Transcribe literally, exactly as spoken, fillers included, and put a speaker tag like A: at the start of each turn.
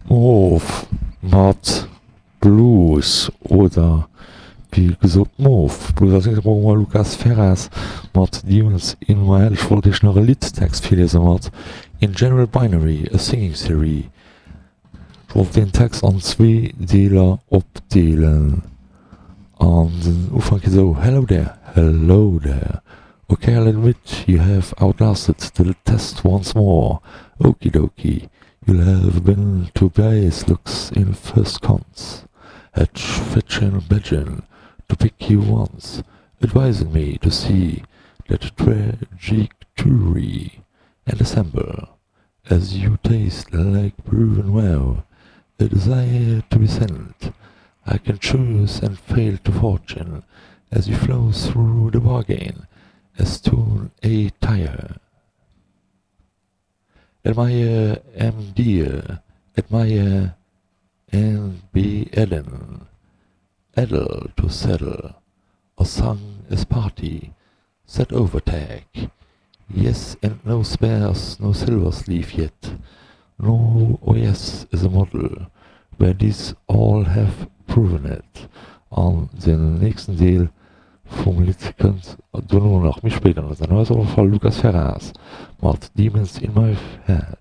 A: Moof mat Blues oder wéi gesot Moof. Blues als nächstes brauche mer Lucas Ferraz mat Demons in my head. Ech wollt iech nach e Liddtext virliese mat In general binary, a singing serie. Ech wollt deen Text an zwee Deeler opdeelen. An den Ufank geet esou, Hello there, hello there. Ok, I'll admit you have outlasted the test once more. Okie dokie, you'll have been to base looks in first cons. At fetchin' bedgin' to pick you once, advising me to see that trajectory and assemble as you taste like proven wow, a desire to be sent. I can choose and fail to fortune as you flow through the bargain as tune a tire. Admire am dear, admire and be Eden, addle to saddle, or sung as party, set overtake. Yes, and no spares, no silver sleeve yet, no oh yes is a model, where these all have proven it. An den nächsten Deel vum Lidd kënnt dono nach méi spéit an der Sendung. Ass op alle Fall Lucas Ferraz mat Demons in my head.